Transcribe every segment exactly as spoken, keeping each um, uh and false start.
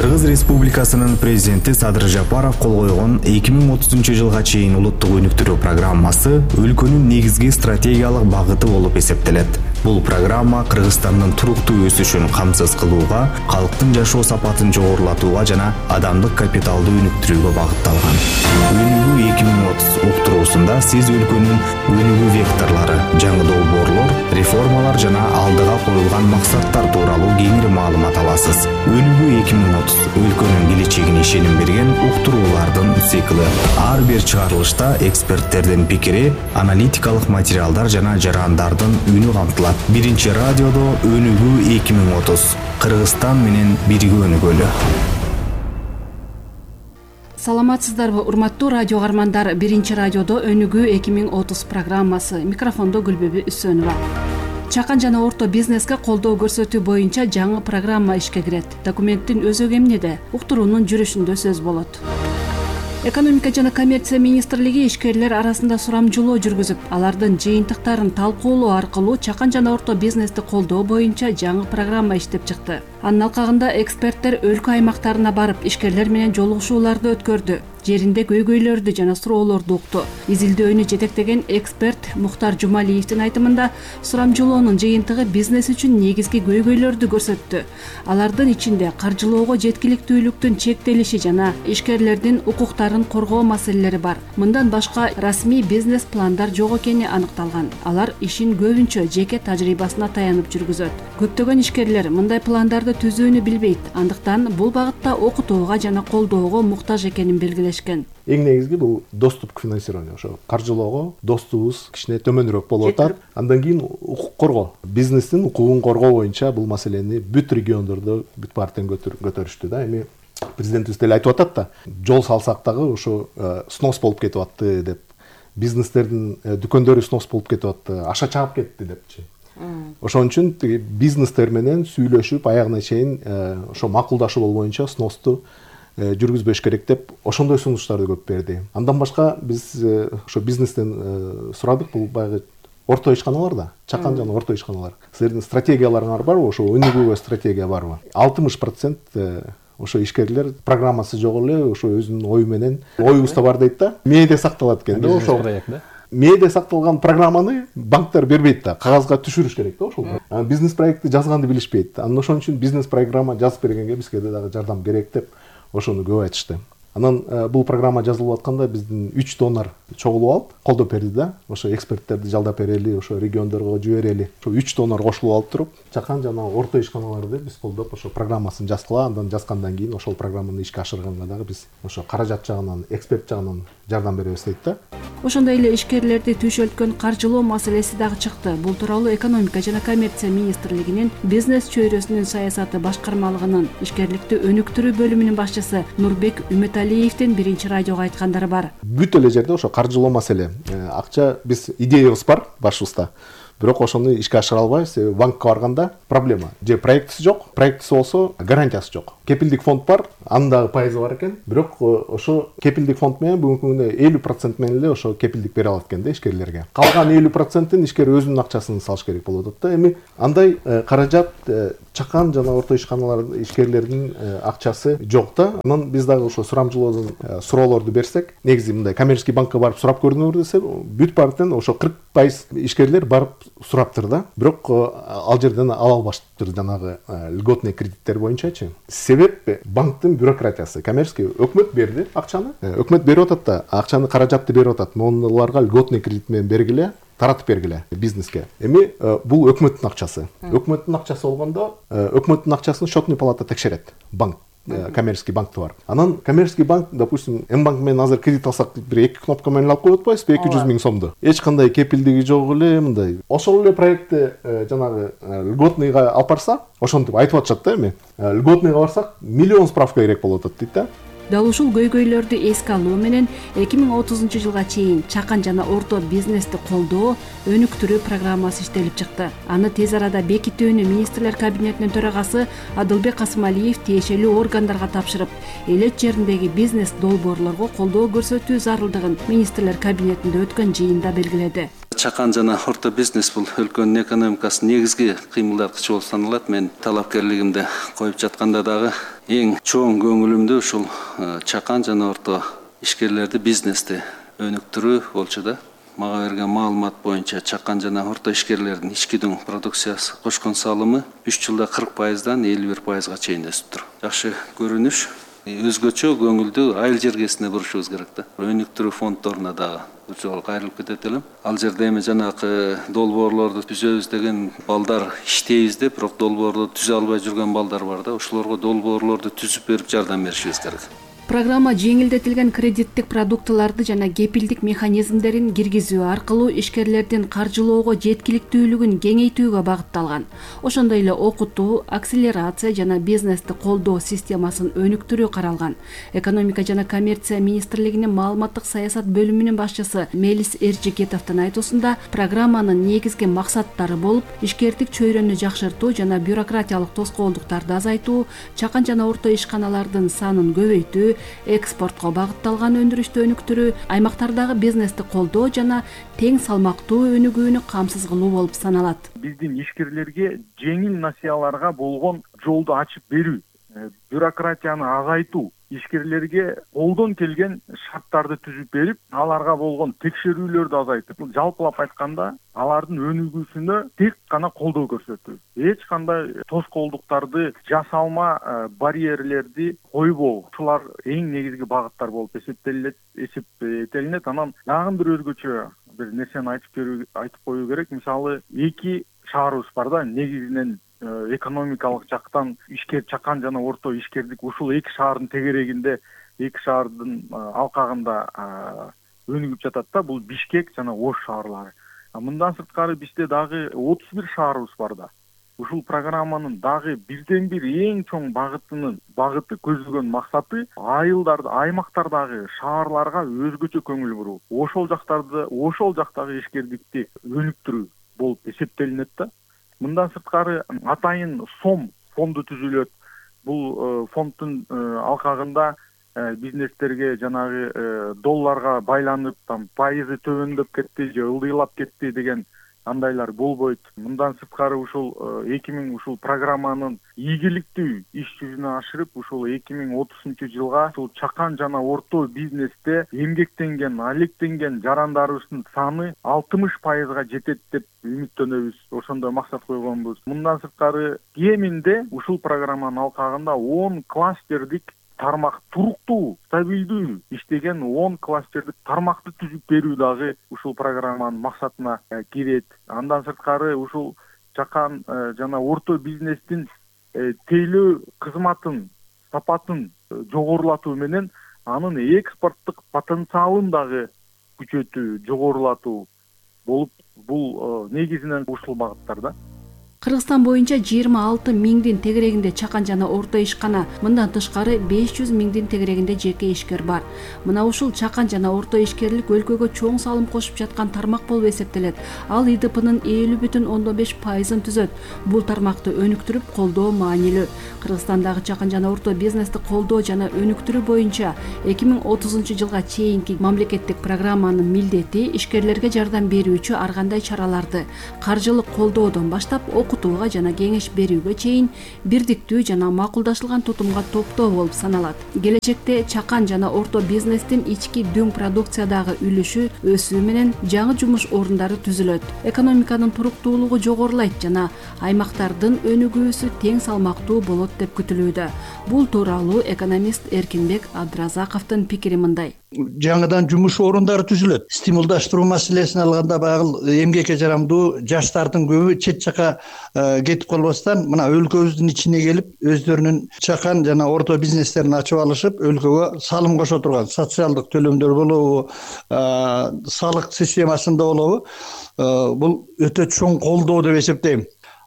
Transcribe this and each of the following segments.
Кыргыз Республикасынын президенти Садыр Жапаров кол койгон эки миң отузунчу жылга чейин улуттук өнүктүрүү программасы өлкөнүн негизги стратегиялык багыты болуп эсептелет. Бул программа Кыргызстандын туруктуу өсүшүн камсыз кылууга, калктын жашоо сапатын жогорулатууга жана адамдык капиталды өнүктүрүүгө багытталган. Өнүгүү эки миң отуз уктуруусунда сиз өлкөнүн өнүгүү векторлору, жаңы долбоорлор, реформалар жана алдыга коюлган максаттар тууралуу кеңири маалымат аласыз. Өнүгүү эки миң отуз өлкөнүн келечегине ишеним берген уктуруулардын циклы. Ар бир чыгарылышта эксперттердин пикири, аналитикалык материалдар жана жарандардын үнү камтылат. Биринчи радиодо Өнүгүү эки миң отуз. Кыргызстан менен бирге өнүгөлү. Саламатсыздарбы, урматтуу радио каармандар. Биринчи радиодо Өнүгүү эки миң отуз программасы. Микрофондо Гүлбүбү Үсөнова. Чакан жана орто бизнеске колдоо көрсөтүү боюнча жаңы программа ишке кирет. Документтин өзөгү эмнеде? Уктуруунун жүрүшүндө сөз болот. Экономика жана коммерция министрлиги ишкерлер арасында сурамжылоо жүргүзүп, алардын жыйынтыктарын талкуулоо аркылуу чакан жана орто бизнести колдоо боюнча жаңы программа иштеп чыкты. Анын алкагында эксперттер өлкө аймактарына барып, ишкерлер менен жолугушууларды өткөрдү. Жеринде көйгөйлөрдү жана суроолорду укту. Изилдөөнү жетектеген эксперт Мухтар Жумалиевдин айтымында, сурамжылоонун жыйынтыгы бизнес үчүн негизги көйгөйлөрдү көрсөттү. Алардын ичинде каржылоого жеткиликтүүлүктүн чектелиши жана ишкерлердин укуктарын коргоо маселелери бар. Мындан башка расмий бизнес пландар жок экени аныкталган. Алар ишин көбүнчө жеке тажрыйбасына таянып жүргүзөт. Көптөгөн ишкерлер мындай пландарды түзүүнү билбейт. Андыктан бул багытта окутууга жана колдоого муктаж экенин белгилешкен. Эң негизги бул доступ к финансированию. Ошо каржылоого доступубуз кичине төмөнүрөөк болуп атат. Андан кийин укук коргоо, бизнестин укугун коргоо боюнча бул маселени бүт региондордо бүт партиян көтөрүштү да. Эми президентибиз деле айтып атат да, жол салсак дагы ошо снос болуп кетип атты деп, бизнестердин дүкөндөрү снос болуп кетип атты, аша чаап кетти депчи. Ошон үчүн бизнестер менен сүйлөшүп, аягына чейин ошо макулдашуу боюнча сносту жүргүзбөш керек деп ошондой сунуштарды көп берди. Андан башка биз ошо бизнестен сурадык, бул баягы орто ишканалар да, чакан жана орто ишканалар. Силердин стратегияларыңар барбы, ошо өнүгүүгө стратегия барбы? алтымыш процент ошо ишкерлер программасы жок эле, ошо өзүнүн ою менен, оюбузда бар дейт да, мээде сакталат экен да, ошо мээде сакталган программаны банктар бербейт да, кагазга түшүрүш керек да ошол. Бизнес проектти жазганды билишпейт. Анан ошон үчүн бизнес программа жазып бергенге бизге дагы жардам керек деп ошону көп айтышты. Анан бул программа жазылып атканда биздин үч донор чогулуп алып колдоп берди да. Ошо эксперттерди жалдап берели, ошо региондорго жиберели. Ошо үч донор кошулуп алып туруп, чакан жана орто ишканаларды биз колдоп ошо программасын жазгыла, андан жазгандан кийин ошол программаны ишке ашырганга дагы биз ошо каражат жагынан, эксперт жагынан жардам беребиз дейт да. Ошондой эле ишкерлерди түйшөлткөн каржылоо маселеси дагы чыкты. Бул тууралуу Экономика жана коммерция министрлигинин бизнес чөйрөсүнүн саясаты башкармалыгынын ишкерликти өнүктүрүү бөлүмүнүн башчысы Нурбек Үмөталиевдин биринчи радиого айткандары бар. Бүт эле жерде ошо каржылоо маселе. Акча, биз идеябыз бар башыбызда. Бирок ошону ишке ашыра албайбыз. Себеби банкка барганда проблема. Же проектиси жок, проектиси болсо гарантиясы жок. Кепилдик фонд бар, анын дагы пайызы бар экен. Бирок ошо кепилдик фонд менен бүгүнкү күндө элүү процент менен эле ошо кепилдик бере алат экен да ишкерлерге. Калган элүү процентин ишкер өзүнүн акчасын салыш керек болуп атат да. Эми андай каражат чакан жана орто ишканалар ишкерлердин акчасы жок да. Анан биз дагы ошо сурамжылоодон суроолорду берсек, негизи мындай коммерческий банкка барып сурап көрдүңөр десе, бүт партиян ошо кырк пайыз ишкерлер барып сураптыр да. Бирок ал жерден ала албаштыр жанагы льготный кредиттер боюнчачы. Себеп банктын бюрократиясы. Коммерческий өкмөт берди акчаны. Өкмөт берип атат да, акчаны каражатты берип атат. Монуларга льготный кредит менен бергиле, таратып бергиле бизнеске. Эми бул өкмөттүн акчасы. Өкмөттүн акчасы болгондо, өкмөттүн акчасын счетный палата текшерет. Банк, коммерческий банкты бар. Анан коммерческий банк, допустим, М-банк менен азыр кредит алсак, бир эки кнопка менен алып коюп атпайбызбы, эки жүз миң сомду. Эч кандай кепилдиги жок эле, мындай. Ошол эле проектти жанагы льготныйга алып барса, ошентип айтып атышат да эми. Льготныйга барсак, миллион справка керек болуп атат дейт да. Дал ушул көйгөйлөрдү эске алуу менен эки миң отузунчу жылга чейин чакан жана орто бизнести колдоо, өнүктүрүү программасы иштелип чыкты. Аны тез арада бекитүүнү министрлер кабинетинин төрагасы Адылбек Касымалиев тиешелүү органдарга тапшырып, элет жериндеги бизнес долбоорлорго колдоо көрсөтүү зарылдыгын министрлер кабинетинде өткөн жыйында белгиледи. чакан жана орто бизнес бул өлкөнүн экономикасынын негизги кыймылдаткычы болуп саналат. Мен талапкерлигимди коюп жатканда дагы эң чоң көңүлүмдү ушул чакан жана орто ишкерлерди, бизнести өнүктүрүү болчу да. Мага берген маалымат боюнча чакан жана орто ишкерлердин ички дүң продукциясы кошкон салымы үч жылда кырк пайыздан элүү бир пайызга чейин өсүптүр. Жакшы көрүнүш. Өзгөчө көңүлдү айыл жергесине бурушубуз керек да. Өнүктүрүү фонддоруна дагы бул жолу кайрылып кетет элем. Ал жерде эми жанагы долбоорлорду түзөбүз деген балдар иштейбиз деп, бирок долбоорду түзө албай жүргөн балдар бар да. Ошолорго долбоорлорду түзүп берип жардам беришибиз керек. Программа жеңилдетилген кредиттик продуктыларды жана кепилдик механизмдерин киргизүү аркылуу ишкерлердин каржылоого жеткиликтүүлүгүн кеңейтүүгө багытталган. Ошондой эле окутуу, акселерация жана бизнести колдоо системасын өнүктүрүү каралган. Экономика жана коммерция министрлигинин маалыматтык саясат бөлүмүнүн башчысы Мелис Эржигетовдун айтуусунда, программанын негизги максаттары болуп, ишкердик чөйрөнү жакшыртуу жана бюрократиялык тоскоолдуктарды азайтуу, чакан жана орто ишканалардын санын көбөйтүү, экспортко багытталган өндүрүштү өнүктүрүү, аймактардагы бизнести колдоо жана тең салмактуу өнүгүүнү камсыз кылуу болуп саналат. Биздин ишкерлерге жеңил насыяларга болгон жолду ачып берүү, бюрократияны азайтуу, ишкерлерге колдон келген шарттарды түзүп берип, аларга болгон текшерүүлөрдү азайтып, жалпылап айтканда, алардын өнүгүүсүнө тек гана колдоо көрсөтүү. Эч кандай тоскоолдуктарды жасалма, барьерлерди койбоо. Ушулар эң негизги багыттар болуп эсептелет, эсептелинет. Анан дагы бир өзгөчө бир нерсени айтып берүү, айтып коюу керек. Мисалы, эки шаарыбыз бар да, негизинен экономикалык жактан ишкер чакан жана орто ишкердик ушул эки шаардын тегерегинде, эки шаардын алкагында өнүгүп жатат да. Бул Бишкек жана Ош шаарлары. Мындан сырткары бизде дагы отуз бир шаарыбыз бар да. Ушул программанын дагы бирден бир эң чоң багытынын багыты көздөгөн максаты айылдарды, аймактардагы шаарларга өзгөчө көңүл буруу. Ошол жактарды, ошол жактагы ишкердикти өнүктүрүү болуп эсептелинет да. Мындан сырткары атайын сом фонду түзүлөт. Бул фонддун алкагында бизнестерге жанагы долларга байланып, там пайызы төмөндөп кетти же ылдыйлап кетти деген андайлар болбойт. Мындан сырткары ушул эки миң ушул программанын ийгиликтүү иш жүзүнө ашырып, ушул эки миң отузунчу жылга ушул чакан жана орто бизнесте эмгектенген, алектенген жарандарыбыздын саны алтымыш пайызга жетет деп үмүттөнөбүз. Ошондой максат койгонбуз. Мындан сырткары кеминде ушул программанын алкагында он кластердик тармак, туруктуу, стабилдүү иштеген он кластердик тармакты түзүп берүү дагы ушул программанын максатына кирет. Андан сырткары ушул чакан жана орто бизнестин тейлөө кызматын, сапатын жогорулатуу менен анын экспорттук потенциалын дагы күчөтүү, жогорулатуу болуп, бул негизинен ушул багыттар да. Кыргызстан боюнча жыйырма алты миңдин тегерегинде чакан жана орто ишкана, мындан тышкары беш жүз миңдин тегерегинде жеке ишкер бар. Мына ушул чакан жана орто ишкерлик өлкөгө чоң салым кошуп жаткан тармак болуп эсептелет. Ал И Д П'нын элүү бүтүн ондон беш пайызын түзөт. Бул тармакты өнүктүрүп колдоо маанилүү. Кыргызстандагы чакан жана орто бизнести колдоо жана өнүктүрүү боюнча эки миң отузунчу жылга чейинки мамлекеттик программанын милдети ишкерлерге жардам берүүчү ар кандай чараларды каржылык колдоодон баштап окутууга жана кеңеш берүүгө чейин бирдиктүү жана макулдашылган тутумга топтоо болуп саналат. Келечекте чакан жана орто бизнестин ички дүң продукциядагы үлүшү өсүү менен жаңы жумуш орундары түзүлөт. Экономиканын туруктуулугу жогорулайт жана аймактардын өнүгүүсү тең салмактуу болот деп күтүлүүдө. Бул тууралуу экономист Эркинбек Абдыразаковдун пикири мындай. Жаңыдан жумуш орундары түзүлөт. Стимулдаштыруу маселесин алганда баягы эмгекке жарамдуу жаштардын көбү чет жака кетип калбастан мына өлкөбүздүн ичине келип өздөрүнүн чакан жана орто бизнестерин ачып алышып, өлкөгө салым кошо турган социалдык төлөмдөр болобу, салык системасында болобу, бул өтө чоң колдоо деп эсептейм.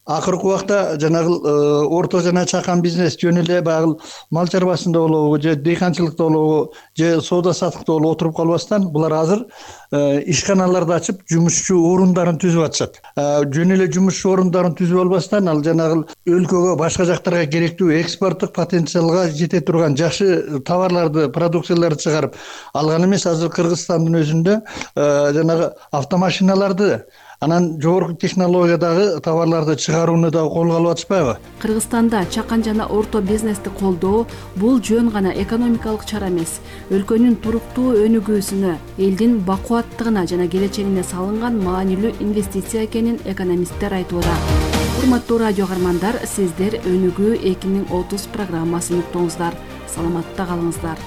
акыркы убакта жанагы орто жана чакан бизнес жөн эле баягы мал чарбасында болобу же дыйканчылыкта болобу же соода саттыкта болобу отуруп калбастан булар азыр ишканаларды ачып жумушчу орундарын түзүп атышат. Жөн эле жумушчу орундарын түзүп албастан ал жанагы өлкөгө башка жактарга керектүү экспорттук потенциалга жете турган жакшы товарларды, продукцияларды чыгарып алган эмес. Азыр Кыргызстандын өзүндө жанагы автомашиналарды, анан жогорку технологиядагы товарларды чыгарууну дагы колго алып атышпайбы? Кыргызстанда чакан жана орто бизнести колдоо бул жөн гана экономикалык чара эмес, өлкөнүн туруктуу өнүгүүсүнө, элдин бакубаттыгына жана келечегине салынган маанилүү инвестиция экенин экономисттер айтууда. Урматтуу радио каармандар, сиздер Өнүгүү эки миң отуз программасын уктуңуздар. Саламатта калыңыздар.